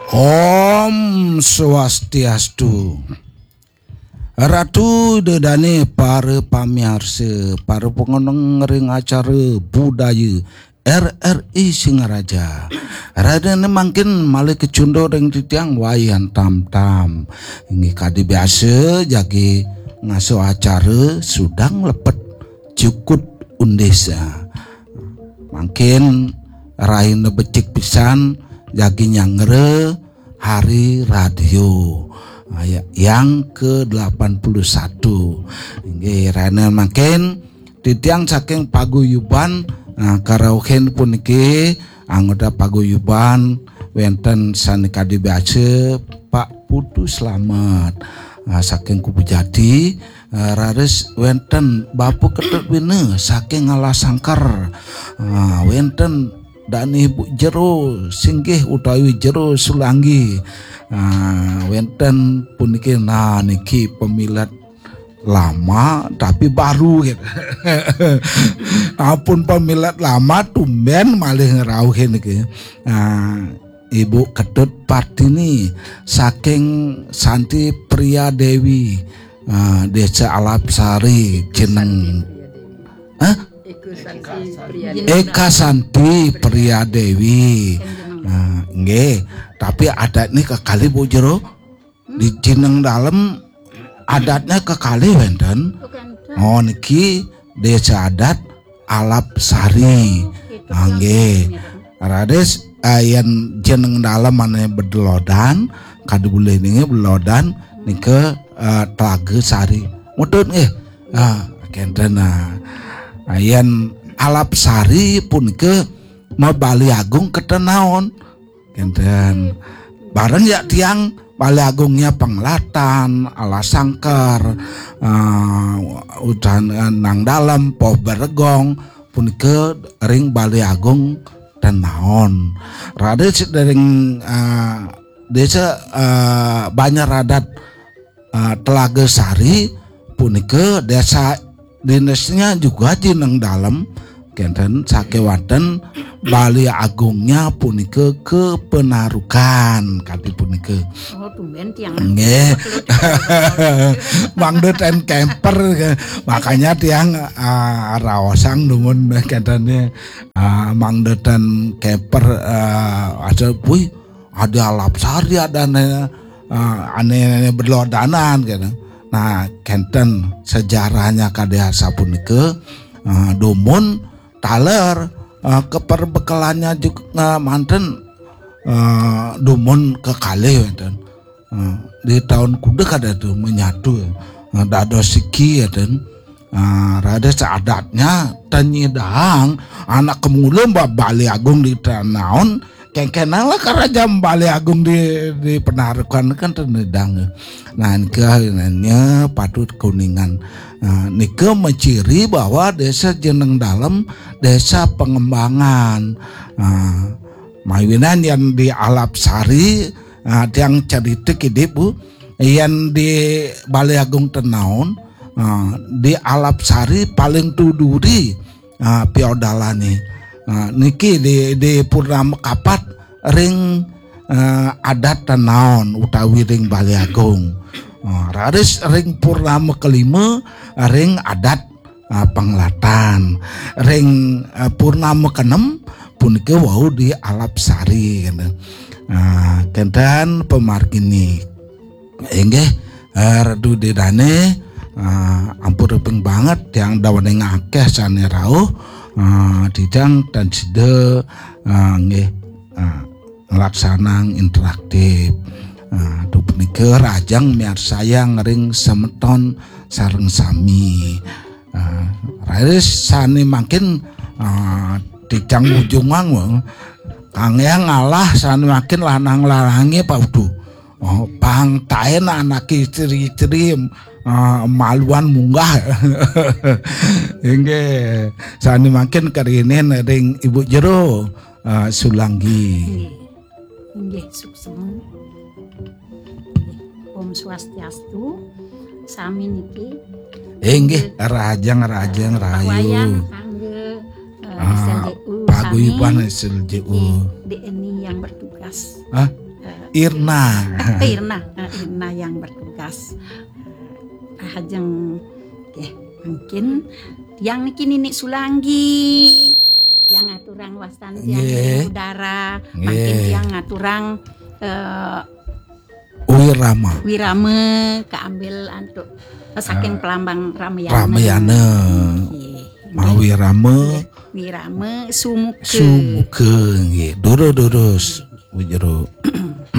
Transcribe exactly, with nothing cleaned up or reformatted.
Om Swastiastu. Ratu Ida Dane, para pamiarsa, para pangoneng ring acara budaya R R I Singaraja. Radene mangkin malih kacunduk ring titiang Wayan Tamtam. Inggih kadi biasa jagi ngasuh acara sudang lepet jukut undis. Mangkin rahina becik pisan jagi nyanggra hari radio, ah, ya, yang ke delapan puluh satu. Inggih, rahina mangkin titiang saking paguyuban, ah, karauhin puniki anggota paguyuban wenten sane kadi biasa Pak Putu Slamet, ah, saking Kubu Jati, ah, raris wenten Bapu Ketut Wina saking Alasangker, ah, wenten Dane Ibu Jero Singgih utawi Jero Sulanggi. Ah, wenten puniki, nah, niki pamilet lama tapi baru gitu. Ampun pamilet lama tumben malih ngrauhin niki. Ah, Ibu Ketut Partini saking Santi Priya Dewi, ah, Desa Alapsari, jeneng. Hah? Eka Santi Priya Dewi. Nah, nggih. Tapi adatnya kekalih, Bu Jero. Di jeneng dalem adatnya kekalih wenten. Oh, niki desa adat Alapsari. Ah, nggih. Raris, eh, yen jeneng dalem ane Bedelodan, kadi bulih ninge Bedelodan, nika, eh, Telaga Sari. Mutut nggih. Ah, kenten, nah. Ah, yen Alapsari punika mabali agung ketenaon. Kenten. Bareng ya tiang Bali Agungnya Penglatan, Alasangker, eh, udan, eh, Nang Dalem, Poh Beregong, punika ring Bali Agung Tenaon. Raris ring, eh, desa, eh, Banjar Adat, eh, Telaga Sari punika desa dinesnya juga jeneng dalem kenten sakewanten Bali Agungnya punika Kepenarukan kadi punika. Oh, tumben tiang. Nggih. Mangda ten camper, makanya tiang, ah, raosang dumun kenten, ah, mangda ten camper, ah, ada, wih, ada Alapsari, ada ane, ah, ane, ane Bedelodanan gitu. Nah, kenten sejarahnya kadi asapunika, ah, dumun taler, ah, keperbekelannya juga, ah, manten, ah, dumun kekalih wenten. Ah, di tahun kuda kada tuh menyatu, ah, dados siki ya ten. Ah, raris adatnya tenyidang anak kemula Mbak Bali Agung di Tenaon, kengkenang lah kerajaan Bali Agung di, di Penarukan kan tenyidang. Nah, nika nanya patut kuningan. Nah, nika menciri bahwa desa Jeneng Dalem desa pengembangan. Nah, mawinan yang di Alapsari, nah, tiang cerita kidi, Bu, yang di Bali Agung Tenaon, nah, di Alapsari paling tuduri, ah, piodalane. Ah, niki di, di purnama kapat ring, ah, adat Tenaon utawi ring Bali Agung. Ah, raris ring purnama kelima ring adat, ah, Penglatan. Ring, ah, purnama kenem punika wau di Alapsari, gitu. Ah, kenten pamargine. Inggih, eh, Ratu Ida Dane, eh, ampun ruping banget tiang dawane ngakeh sane rauh, eh, titiang tan sida, eh, nggih, eh, nglaksanang interaktif. Eh, duh punika rahajeng miarsayang ring semeton sareng sami. Eh, raris sane mangkin, eh, titiang ujungang, wong. Kang Yang ngalah sane mangkin lanang-lanange Pak Udu. Oh, pang taen anak istri-istri, ah, maluan munggah. Inggih, sane mangkin kerinin ring Ibu Jero, ah, Sulanggi. Inggih. Inggih, suksema. Inggih. Om Swastiastu. Sami niki. Inggih, rahajeng, rahajeng, Pak Wayan, rahayu. Kangge, eh, Ah, S L J U, paguyuban sami. S L J U. Inggih, D N I yang bertugas. Hah? Eh, Irna. Eh, Irna, eh, Irna yang bertugas. Ajeng, oke, mungkin yang niki Nini Sulanggi, yang ngaturang wastan tiang Nggih. Udara, Nggih. mungkin yang ngaturang eh, Wirama. Wirama keambil antuk saking Pelambang Ramayana. Ramayana. Nggih. Mawi Rama. Wirama Sumuka. Sumuka nggih. Durus-durus. Wujuru.